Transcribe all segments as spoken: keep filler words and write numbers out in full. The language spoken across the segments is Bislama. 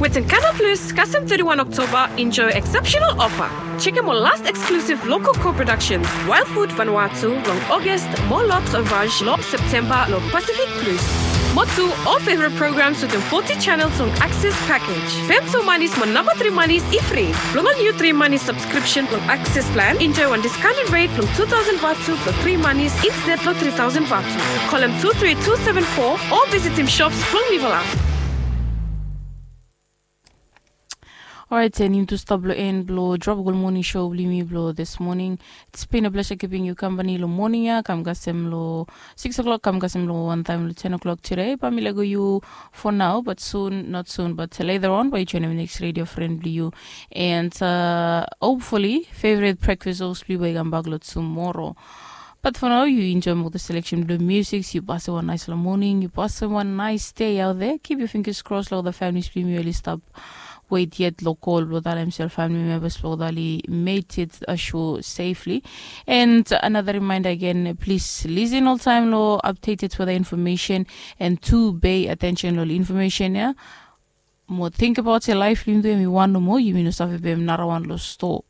Ten Canal Plus kasem thirty-one Oktoba enjoy exceptional offer. Chekem ol last exclusive local co-productions, Wild Food Vanuatu long August mo L'Autre Vache long September long Pacific Plus. Mo tu ol favorite programs wetem forty channels long Access package. Fem tu manis mo namba tri manis i fri. Blong ol niu tri manis subscription blong Access plan enjoy wan discounted rate blong two thousand vatu blong tri manis instead long three thousand vatu. Kolem two three two seven four o visitim shops blong Liverland. Orait, and yumi tu stap long en blong Tropical Morning Show blong yumi blong this morning. It's been a pleasure keeping you company long morning ya kam kasem long six o'clock kam kasem long one time long ten o'clock today. Bae mi lego yu for now, but soon, not soon, but later on bae yu joinim next radio friend blong yu. And uh, hopefully favorite breakfast host blong yu bae i kambak long tomorrow. But for now, yu enjoy mo the selection blong music. Yu pasim wan nice long morning. Yu pasim wan nice day out there. Keep your fingers crossed long the families blong yu oli stap wait yet long call blong that himself family members blong that oli made it ashore safely. And another reminder again, please listen all time long updated weather information and to pay attention long information ya. Mo think about your life blong yumi tu yumi wan nomo yumi no save pem narawan long store.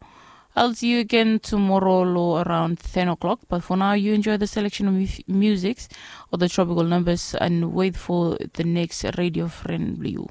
I'll see you again tomorrow lo around ten o'clock, but for now you enjoy the selection of mu- musics or the tropical numbers and wait for the next radio friend blong yu.